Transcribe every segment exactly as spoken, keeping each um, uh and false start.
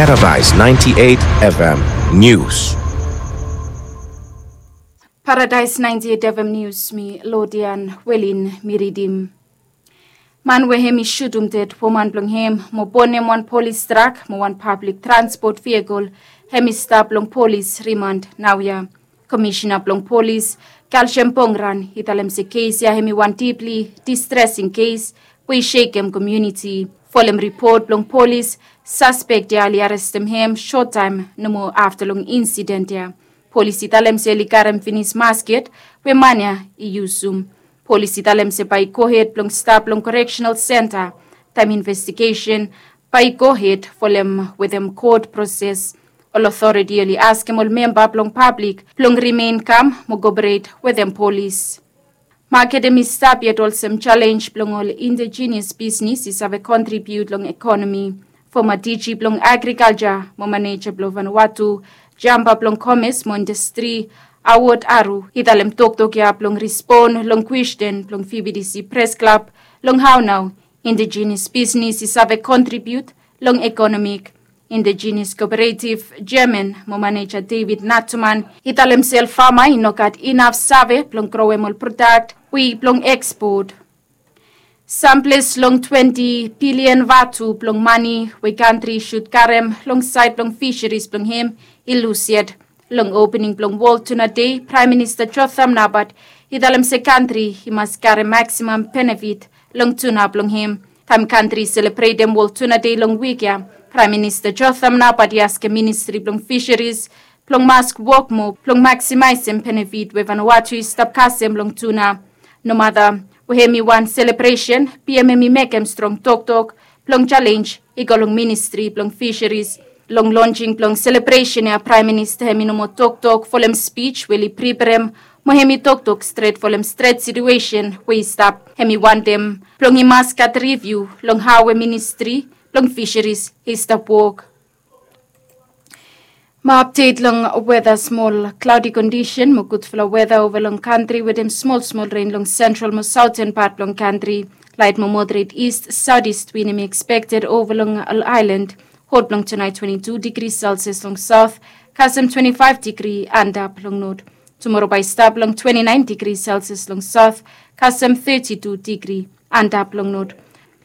Paradise ninety-eight F M News. Paradise ninety-eight F M News, mi Lodian Welin mi ridim. Man we hem i shutum ded woman blong hem mo bonem wan polis trak mo wan pablik transpot vehikel, hem i stap long polis rimand naoia. Komishena blong polis, Kalshem Pongran, i talem se kes ya hem i wan dipli distresing kes we i shekem komuniti. Folem ripot blong polis, saspek ya oli arestem hem sot taem nomo afta long insiden ya. Polis i talem se oli karem finis masket we man ya i yusum. Polis i talem se bae i gohed blong stap long koreksenal senta taem investigesen bae i gohed folem wetem kot proses. Ol otoriti oli askem ol memba blong pablik blong rimen kam mo koporet wetem polis. Maket hem i stap yet olsem jalenj blong ol indijinias bisnis i save kontribiut long ekonomi. Foma D G blong agrikalja mo maneja blong Vanuatu, jamba blong komes mo indastri, Awod Aru, i talem toktok ya blong rispon long kwesten blong V B T C Pres Klab long hao nao indijinias bisnis i save kontribiut long ekonomik. Indijinias koperetiv jeaman mo maneja David Natuman i talem se ol fama i no gat inaf save blong growem ol prodak we i blong ekspot. Samples long twenti bilian vatu blong mane we kantri i sud karem long saed blong fiseris blong hem i lus yet. Long opening blong Wol Tuna Dei, Praem Minista Jotham Napat i talem se kantri i mas karem maksimam benefit long tuna blong hem. Taem kantri i selebretem Wol Tuna Dei long wik ya, Praem Minista Jotham Napat i askem ministri blong fiseris blong mas wok moa blong maksimaesem benefit we Vanuatu i stap kasem long tuna. Nomata we hem i wan selebresen, B M hem i mekem strong toktok blong jalenj i go long ministri blong fiseris. Long lonjing blong selebresen ya, Praem Minista hem i no moa toktok folem spij we oli priperem, mo hem i toktok stret folem stret situesen we i stap. Hem i wantem blong i mas gat riviu long hao we ministri blong fiseris i stap wok. Mo apdet long weta, smol klaodi kondisen mo gudfala weta ova long kantri wetem smol smol ren long sentral mo saoten pat blong kantri. Laet mo moderet ist saodist win hem i ekspekted ova long ol aelan. Hot blong tunaet twenti tu digri selsias long saot, kasem twenti faef digri antap long not. Tumoro bae i stap long twenti naen digri selsias long saot, kasem teti tu digri antap long not.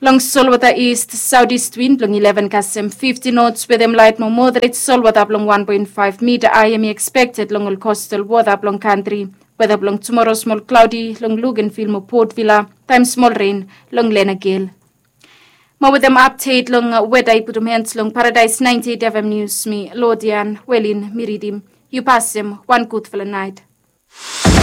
Long solwota ist saodist win blong ileven kasem fifti nots wetem laet mo moderet solwota blong wan poen faef mita ae hem i ekspekted long ol kostal wota blong kantri. Weta blong tumoro smol klaodi long Luganville mo Port Vila, taem smol ren long Lenagel. Mo wetem apdet long weta i putum hens long Paradise ninety-eight F M News, mi Lodian Welin mi ridim. Yu pasem wan gudfala naet.